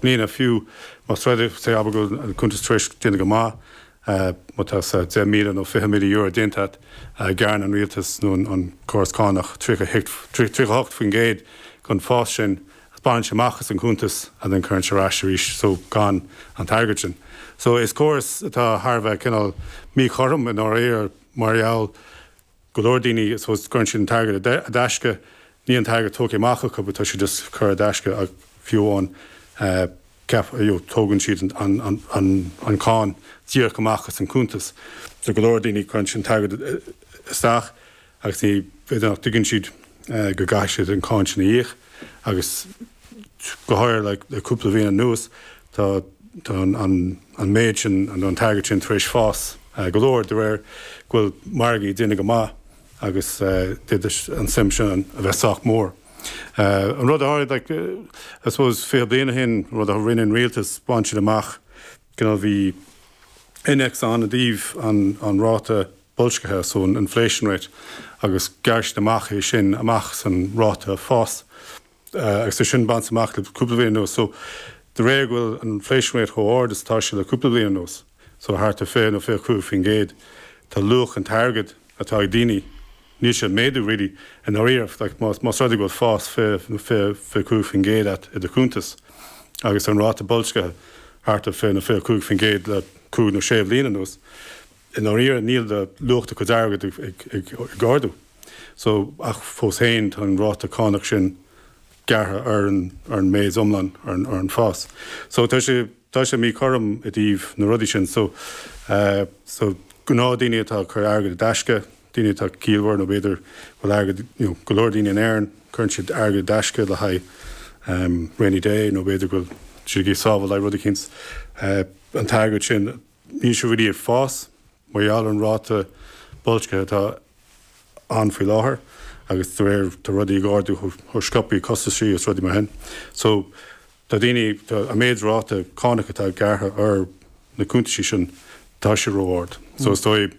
mbliana fiú más rud é, say, abair go bhfuil an cuntas tar éis déanamh go maith, má tá say €10,000 nó €20,000 déanta agat, gearrann an rialtas nó an córas cánach 38% den fás sin, baineann sé amach as an cuntas and then cuireann sé ar ais arís so gan an t-airgead sin. So is córas atá thar a bheith cineál míchothrom i ndáiríre mar gheall go leor daoine I suppose cuireann siad an t-airgead i dtaisce, níl an t-airgead tógtha amach acu but tá sé just curtha i dtaisce ach fiú amháin ceap you know tógann siad an an an an cáin díreach amach as an cuntas. So go leor daoine cuireann siad an t-airgead isteach agus ní b'fhéidir nach dtuigeann siad go gcaithfidh siad an cáin sin a íoc agus go háirithe le cúpla bhliain anuas tá tá an an méid sin an t-airgead sin tar éis fás go leor de réir go bhfuil margaí ag déanamh go maith agus d'fhéadfadh an suim sin a bheith sách mór. An rud a tharla like I suppose 20 bliain ó shin an rud a rinne an rialtas bhain siad amach cineál bhí innéacs ann i dtaobh an an ráta boilscithe, so an inflation rate, agus ghearr siad amach é sin amach san ráta fás agus é sin bainte amach le cúpla bliain anuas. So de réir go bhfuil an inflation rate chomh ard is atá sé le cúpla bliain anuas, so thart ar 20 nó 25%, tá luach an t-airgead atá ag daoine, níl sé ag méadú really i ndáiríre, like más más rud é go bhfuil fás 20 nó 25% agat i do chuntas agus an ráta boilscithe thart ar 20 nó 25% le cúig nó sé bhliain anuas, I ndáiríre níl do luach do chuid airgid ag ardú. So, ach fós féin tá an ráta cánach sin gearrtha ar an ar an méid iomlán, ar an ar an fás. So tá sé tá sé míchothrom i dtaobh na rudaí sin. So, so gnáthdhaoine atá ag cur airgead i dtaisce, daoine atá ciallmhar nó b'fhéidir go bhfuil airgead, you know, go leor daoine in Éirinn, cuireann siad airgead i dtaisce le haghaidh rainy day nó b'fhéidir go bhfuil siad ag sábháil le haghaidh rud eicínt. An t-airgead sin, Níl sé really ag fás mar gheall ar an ráta boilscithe atá ann faoi láthair agus de réir tá rudaí ag ardú chomh sciobtha, costaisí agus rudaí mar sin. So tá daoine, tá an méid ráta cánach atá gearrtha ar na cuntaisí sin, tá sé ró-ard. So is dóigh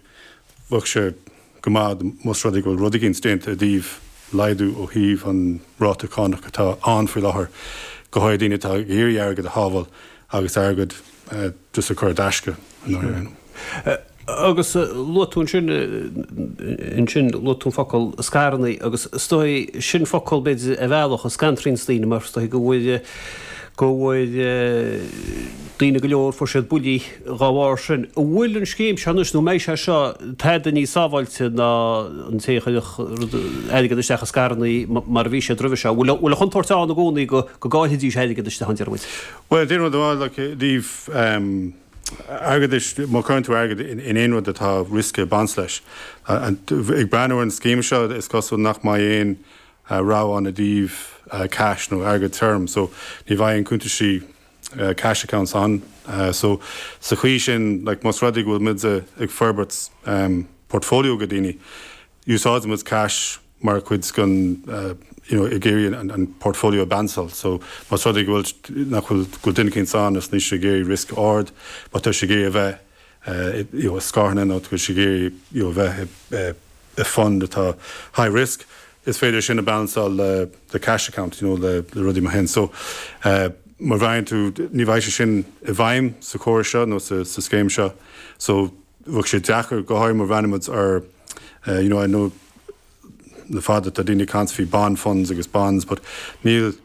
bheadh sé go maith más rud é go bhfuil rud eicínt déanta i dtaobh laghdú ó thaobh an ráta cánach atá ann faoi láthair, go háirithe daoine atá ag iarraidh airgead a shábháil agus airgead just a chur i dtaisce i ndáiríre. Agus luaigh tú ansin, ansin luaigh tú an focal scaireanna agus is dóigh sin focal b'fhéidir ar bhealach a scanraíonns daoine mar is dóigh go bhfuil go bhfuil daoine go leor fuair siad buillí dá bharr sin. An bhfuil an scéim seo anois, nó an mbeidh sé seo tada níos sábháilte ná an té a chuirfeadh airgead isteach i scaireanna mar a bhí siad roimhe seo? An bhfuil an chontúirt ann i gcónaí go gcaillfidís airgead istigh ann, deir muid? Bhuel, d'aon rud amháin, like, i dtaobh airgeadais, má chuireann tú airgead in aon rud atá riosca ag baint leis, ag breathnú ar an scéim seo, is cosúil nach mbeidh aon rogha ann i dtaobh cash nó airgead tirim, so ní bheidh aon cuntaisí cash accounts ann. So sa chaoi sin, like, más rud é go bhfuil muid ag forbairt portfolio go daoine, úsáideann muid cash mar chuid den, you know, ag iarraidh an portfolio a balanceáil. So más rud é go bhfuil, nach bhfuil, go bhfuil duine eicínt ann is níl sé ag iarraidh riosca ard, but tá sé ag iarraidh a bheith, you know, i scaireanna nó tá sé ag iarraidh, you know, a bheith i fund atá high risk, is féidir sin a balanceáil le le cash account, you know, le le rudaí mar sin. So, má bhreathnaíonn tú, ní bheidh sé sin i bhfeidhm sa chóras seo nó sa sa scéim seo. So, bheadh sé deacair, go háirithe má bhreathnaíonn muid ar, you know, I know le fada tá daoine ag caint faoi bond funds agus bonds, but níl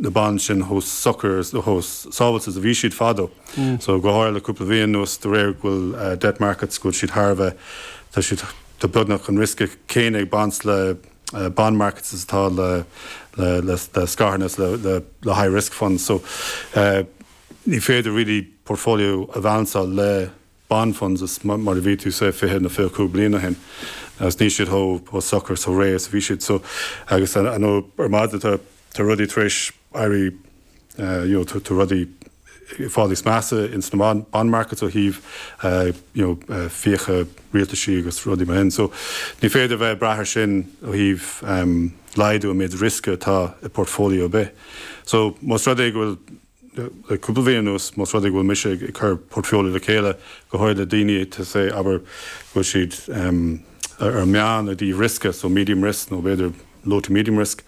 na bonds sin chomh socair, chomh sábháilte is a bhí siad fadó. So go háirithe le cúpla bhliain anuas de réir go bhfuil debt markets go bhfuil siad thar a bheith, tá siad, tá beagnach an riosca céanna ag baint le bond markets is atá le le le le scaireanna is le le le high risk funds. So ní féidir really portfolio a bhalanceáil le bond funds is mar a bhí tú say 20 nó 25 bliain ó shin agus níl siad chomh socair is chomh réidh is a bhí siad so agus I know ar maidin tá tá rudaí tar éis éirí you know tá rudaí ag fáil níos measa ins na bond markets ó thaobh you know fiacha rialtaisí agus rudaí mar sin so ní féidir a bheith ag brath ar sin ó thaobh laghdú an méid riosca atá i portfolio ar bith so más rud é go bhfuil le cúpla bhliain anuas, más rud é go bhfuil mise ag cur portfolio le chéile, go háirithe le daoine atá say, abair, go bhfuil siad ar an meán i dtaobh riosca, so medium risk nó b'fhéidir low to medium risk,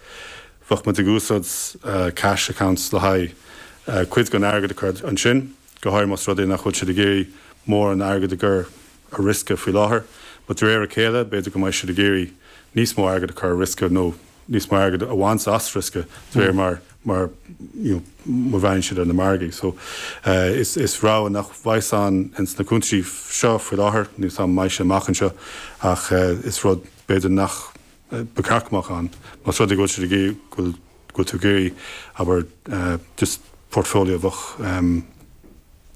bheadh muid ag úsáid cash accounts le haghaidh. cuid den airgead a chur ansin, go háirithe más rud é nach bhfuil siad ag iarraidh mórán airgid a chur ar riosca faoi láthair. But de réir a chéile, b'fhéidir go mbeidh siad ag iarraidh níos mó airgid a chur ar riosca nó níos mó airgid a bhaint as riosca de réir mar mar you know mar bhreathnaíonn siad ar na margaí. So is is rogha nach bheidh ann ins na cuntaisí seo faoi láthair, níl 's a'm an mbeidh sé amach anseo ach is rud b'fhéidir nach ba cheart go mbeadh ann. Más rud é go bhfuil siad ag iarraidh go bhfuil go bhfuil tú ag iarraidh abair just portfolio a bheadh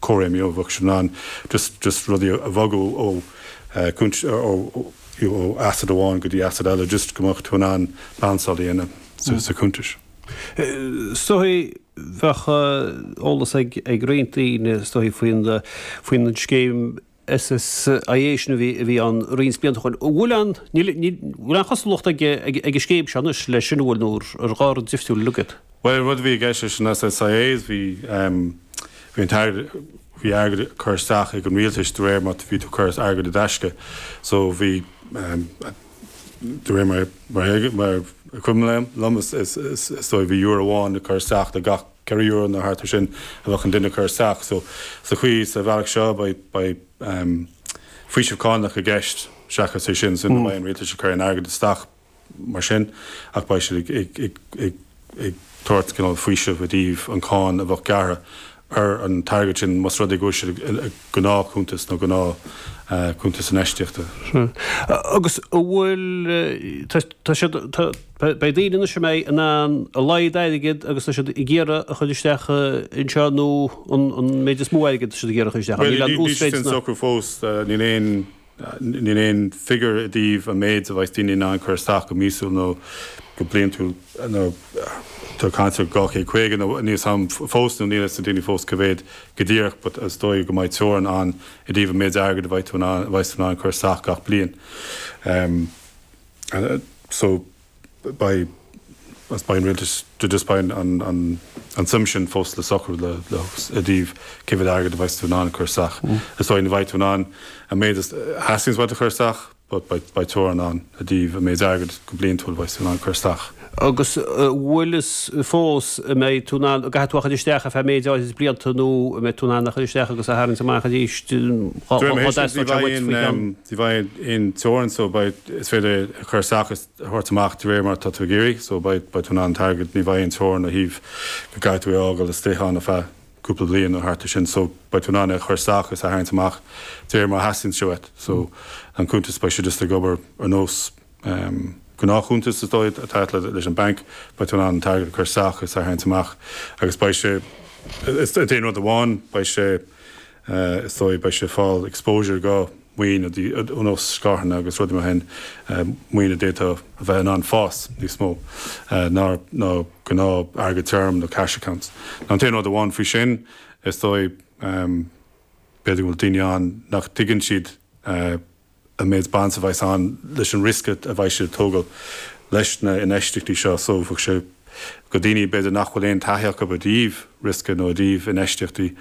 cóir you know bheadh siad in ann just just rudaí a bhogadh ó cúint ó you know ó asset amháin go dtí asset eile just go mbeadh tú in ann balanceáil a dhéanamh sa sa cuntais. Is dóigh bheadh eolas ag ag roinnt daoine is dóigh faoin faoin scéim SSIA sin a bhí a bhí ann roinnt blianta ó shin. An bhfuil aon níl níl bhfuil aon chosúlacht ag ag ag an scéim seo anois leis sin an bhfuil nó ar dhá rud difriúil uilig iad? Bhuel an rud a bhí i gceist leis an SSIA is bhí bhí an t-airgead bhí airgead ag cur isteach ag an rialtais de réir mar bhí tú ag cur airgead i dtaisce so bhí de réir mar mar mar a cuimhin liom is is is is dóigh bhí euro amháin ag cur isteach do gach €4 nó thart ar sin a bheadh an duine ag cur isteach. So, sa chaoi, sa bhealach seo, beidh, beidh faoiseamh cánach i gceist seachas é sin. So, ní bheidh an rialtas ag cur aon airgead isteach mar sin ach beidh siad ag, ag, ag, ag, ag tabhairt cineál faoiseamh i dtaobh an cáin a bheadh gearrtha ar an t-airgead sin más rud é go bhfuil siad i gnáthchuntas nó gnáth cuntas infheistíochta. Agus an bhfuil, tá siad, tá, beidh daoine anois a mbeidh in ann a laghad airgid agus tá siad ag iarraidh a chur isteach anseo nó an méid is mó airgid tá siad ag iarraidh a chur isteach. Níl an uasmhéid sin socrú fós, níl aon, níl aon figiúr i dtaobh an méid a bheidh daoine in ann cur isteach go míosúil nó go bliantúil nó tá caint ar 250 nó níl 's a'm fós nó níl 'fhios ag daoine fós cá mhéad go díreach but is dóigh go mbeidh teorainn ann i dtaobh an méid airgid a bheidh tú in ann, a bheidh tú in ann cur isteach gach bliain. So beidh beidh an rialtas just beidh an an an suim sin fós le socrú le le i dtaobh cé mhéad airgead a bheidh tú in ann cur isteach. Is dóigh ní bheidh tú in ann an méid a theastaíonns uait a chur isteach but beidh beidh teorainn ann i dtaobh an méid airgid go bliantúil a bheidh tú in ann cur isteach. Agus an bhfuil fhios fós an mbeidh tú in ann, an gcaithfidh tú a chur isteach ar feadh méid áirid blianta nó an mbeidh tú in ann a chur isteach agus a tharraingt amach arís dá dteastódh sé uait faoi cheann? Ní bheidh aon teorainn so beidh, is féidir é a chur isteach is a thabhairt amach de réir mar atá tú ag iarraidh so beidh, beidh tú in ann an t-airgead, ní bheidh aon teorainn ó thaobh go gcaithfidh tú é a fhágáil istigh ann ar feadh cúpla bliain nó thart ar sin so beidh tú in ann é a chur isteach is a tharraingt amach de réir mar a theastaíonn sé uait so an cuntas beidh sé just ag obair ar nós gnáthchuntas is dóigh atá agat leis an banc, beidh tú in ann an t-airgead a chur isteach is a tharraingt amach agus beidh sé, is an t-aon rud amháin, beidh sé, is dóigh, beidh sé ag fáil exposure go maoin ar nós scaireanna agus rudaí mar sin, maoin a d'fhéadfadh a bheith in ann fás níos mó ná ná gnáth airgead tirim nó cash accounts. An t-aon rud amháin faoi sin, is dóigh, b'fhéidir go bhfuil daoine ann nach dtuigeann siad an méid baint a bheas ann leis an riosca a bheidh siad ag tógáil leis na infheistíochtaí seo. So bheadh sé go daoine b'fhéidir nach bhfuil aon taithí acu i dtaobh riosca nó i dtaobh infheistíochtaí,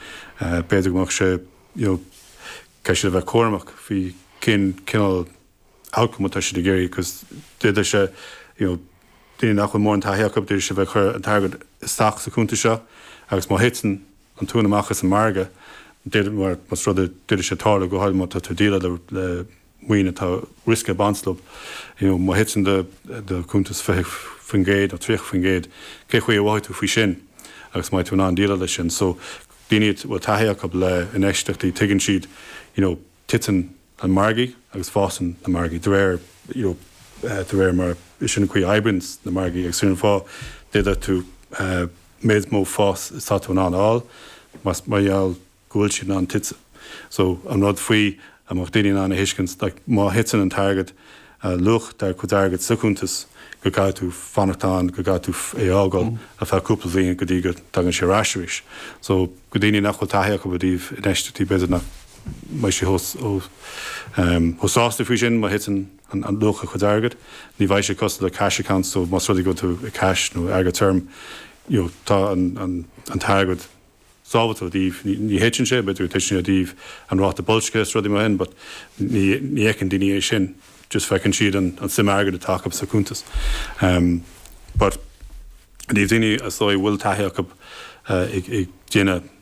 b'fhéidir go mbeadh sé you know caithfidh siad a bheith cúramach faoi cén cineál outcome atá siad ag iarraidh because d'fhéadfadh sé you know daoine nach bhfuil mórán taithí acu d'fhéadfadh sé bheith ag cur an t-airgead isteach sa chuntas seo agus má thiteann an tóin amach as an margadh, d'fhéadfadh, mar más rud é, d'fhéadfadh sé tarlú, go háirithe má tá tú ag déileáil le maoin atá riosca ag baint leo, you know, má thiteann do do chuntas 20% nó 30%, cé chaoi a mhothóidh tú faoi sin agus an mbeidh tú in ann déileáil leis sin. So, daoine a bhfuil taithí acu le infheistíochtaí, tuigeann siad, you know, titeann an margaí agus fásann na margaí de réir you know de réir mar is sin an chaoi a oibríonn na margaí agus sin an fáth d'fhéadfadh tú méid mó fás is tá tú in ann a fháil más mar gheall go bhfuil siad in ann tite. So an rud faoi a mbeadh daoine in ann a thuiscint like má thiteann an t-airgead luach do chuid airgid sa chuntas go gcaithfidh tú fanacht ann go gcaithfidh tú é a fhágáil ar feadh cúpla bliain go dtí go dtagann sé ar ais arís. So go daoine nach bhfuil taithí acu i dtaobh infheistíochtaí b'fhéidir nach mbeidh siad chomh sásta faoi sin má thiteann an luach a chuid airgid. Ní bheidh sé cosúil le cash accounts so más rud é go bhfuil tú i cash nó airgead tirim you know tá an t-airgead sábháilte ó thaobh, ní thiteann sé, b'fhéidir go dtiteann sé ó thaobh an ráta boilscithe is rudaí mar sin but ní ní fheiceann daoine é sin, just feiceann siad an an suim airgid atá acu sa chuntas. But i dtaobh daoine is dóigh a bhfuil taithí acu. Ag déanamh.